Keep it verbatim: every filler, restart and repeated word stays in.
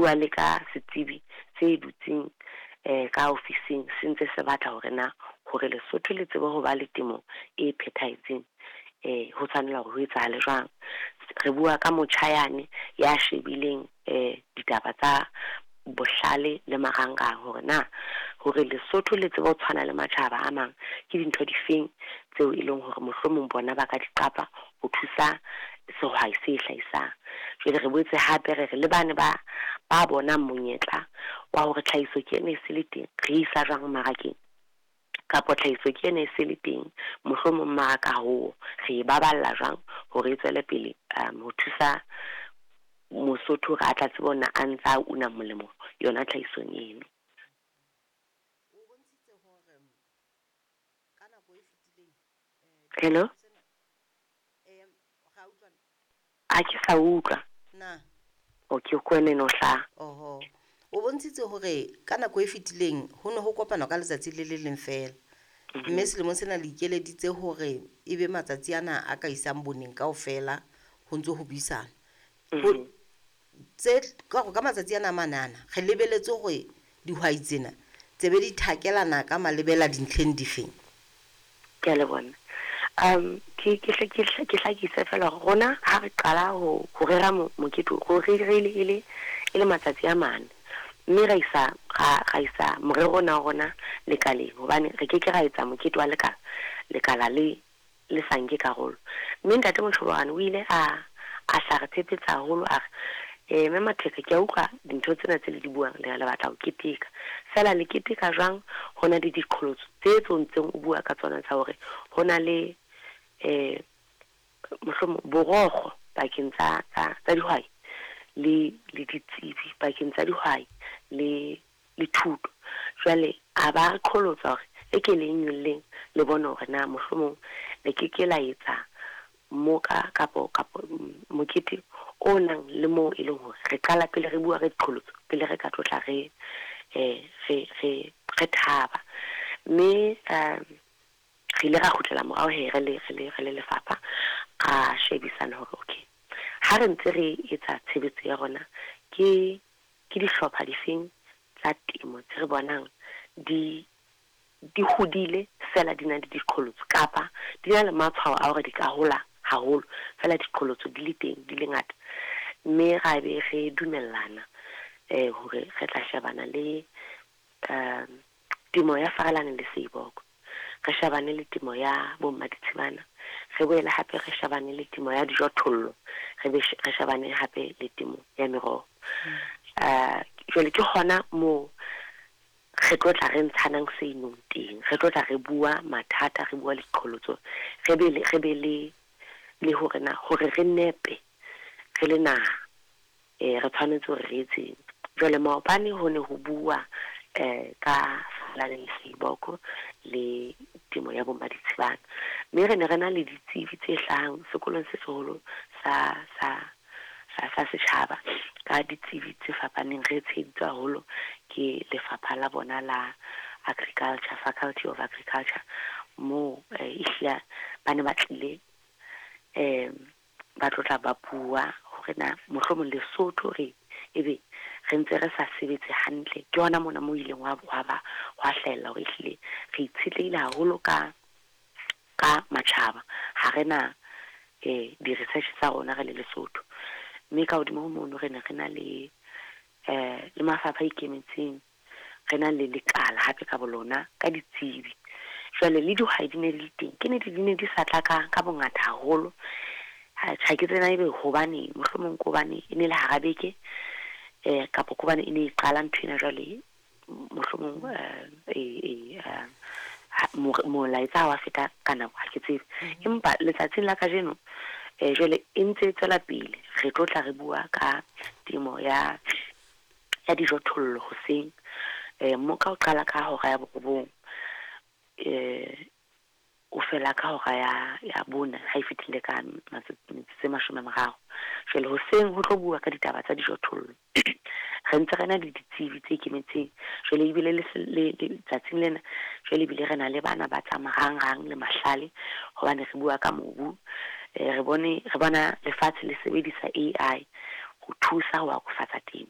bua le ka setsebi se dutseng eh ka ofising se ntse se batla hore na hore Lesotho le tsebe ho ba le temo e phethahetseng, eh ho tshwanela hore ho etsahale jwang. Re bua ka motjha yane ya shebileng eh ditaba tsa bohlale le marangrang hore na hore Lesotho le tsebe ho tshwana le matjhaba a mang ke dintho difeng tseo e leng hore mohlomong bona ba ka di qapa ho thusa sehwai se hlahisang. Jwale re boetse hape re re le bane ba ba bonang monyetla wa hore tlhahiso ke ena e se le teng, re isa jwang mmarakeng, kapa tlhahiso ke ena e se le teng mohlomong mmaraka hoo re e baballa jwang hore e tswele pele um ho thusa Mosotho hore a tla tsebe hore a ntsa una molemo yona tlhahisong eno. O bontshitse hore ka nako e fetileng eh Hello, sena eh ra utlwana a ke sa utlwa. Na Okay, ko wena eno hlaha. Oho, o bontshitse hore ka nako e fetileng ho ne ho kopanwa ka letsatsi le le leng feela, mme selemong sena le ikeleditse hore e be matsatsi ana a ka isang boneng kaofela ho ntso ho buisana. Ho tse ka ka matsatsi ana a manana re lebeletse hore dihwai tsena tse be di thakelana ka malebela dintlheng difeng? Ke a lebona. Um ke ke hle ke hle ke hlakise fela hore rona ha re qala ho ho rera mokete, ho rerile e le e le matsatsi a mane, mme ra isa ra ra isa morero ona wa rona lekaleng, hobane re ke ke ra etsa mokete wa leka lekala le le sa nke karolo. Mme ntate Moshobane o ile a a hla re phephetsa haholo, a re eh mme Matheka, ke a utlwa dintho tsena tse le di buang, le le batla ho keteka, fela le keteka jwang ho na le diqholotso tse tse o ntseng o bua ka tsona tsa hore ho na le eh mohlomong borokgo pakeng tsa tsa tsa dihwai le le ditsebi, pakeng tsa dihwai le le thuto. Jwale a ba re qholotsa hore e ke le nyolleng le bone hore na mohlomong le ke ke la etsa moka kapo kapo mokete o nang le moo e leng hore re qala pele re bua re diqholotso pele re ka tlotla re eh re re re thaba. Mme um re ile ra kgutlela morao he re le re le re le lefapha, ra shebisana hore okay, ha re ntse re etsa tshebetso ya rona, ke ke dihlopha difeng tsa temo tse re bonang di di hodile fela di na le diqholotso, kapa di na le matshwao a hore di ka hola haholo fela diqholotso di le teng di le ngata. Mme ra be re dumellana eh hore re tla shebana le um temo ya Farelane le Seiboko, re shebane le temo ya bo Mmaditshibana, re boele hape re shebane le temo ya dijothollo, re be re shebane hape le temo ya meroho. Uh jwale ke hona moo re tlo tla re ntshanang seinong teng, re tlo tla re bua mathata, re bua le diqholotso, re be le re be le le hore na hore re nepe re le naha eh re tshwanetse hore re etseng. Jwale maobane ho ne ho bua eh ka Farelane le Seiboko le temo ya bo Mmaditshibana, mme re ne re na le ditsebi tse hlahang sekolong se seholo sa sa sa sa setjhaba ka ditsebi tse fapaneng. Re tsheheditswe haholo ke lefapha la bona la agriculture, Faculty of Agriculture, moo eh, ehlile ba ne ba tlile um ba tlotla ba bua hore na mohlomong Lesotho re ebe re ntse re sa sebetse hantle. Ke hona mona mo ileng wa wa ba hwa hlahella hore ehlile re itshetlehile haholo ka ka matjhaba, ha re na eh di-research tsa rona re le Lesotho. Mme ka hodimo ho mono re ne re na le eh le mafapha a ikemetseng, re na le lekala hape ka bolona ka ditsebi. Jwale le dihwai di ne di le teng, ke nnete di ne di sa tla ka ka bongata haholo. Ha ha ke tsena ebe hobaneng, mohlomong ke hobane e ne le hara beke eh kapa ke hobane e ne e qala nthwena jwale mohlomong eh eh molaetsa ha wa feta ka nako, ha ke tsebe. Empa letsatsing la kajeno eh jwale e ntse e tswela pele, re tlo tla re bua ka temo ya ya dijothollo hoseng. Eh moka o qala ka hora ya borobong, eh o fela ka hora ya ya bone ha e fetile ka metsotso e mashome a mararo. Jwale hoseng ho tlo bua ka ditaba tsa dijothollo, re ntse re na le ditsebi tse ikemetseng. Jwale ebile le le letsatsing lena jwale ebile re na le bana ba tsa marangrang le mahlale, hobane re bua ka mobu. Eh re bone re bona lefatshe le sebedisa A I ho thusa ho akofatsa temo.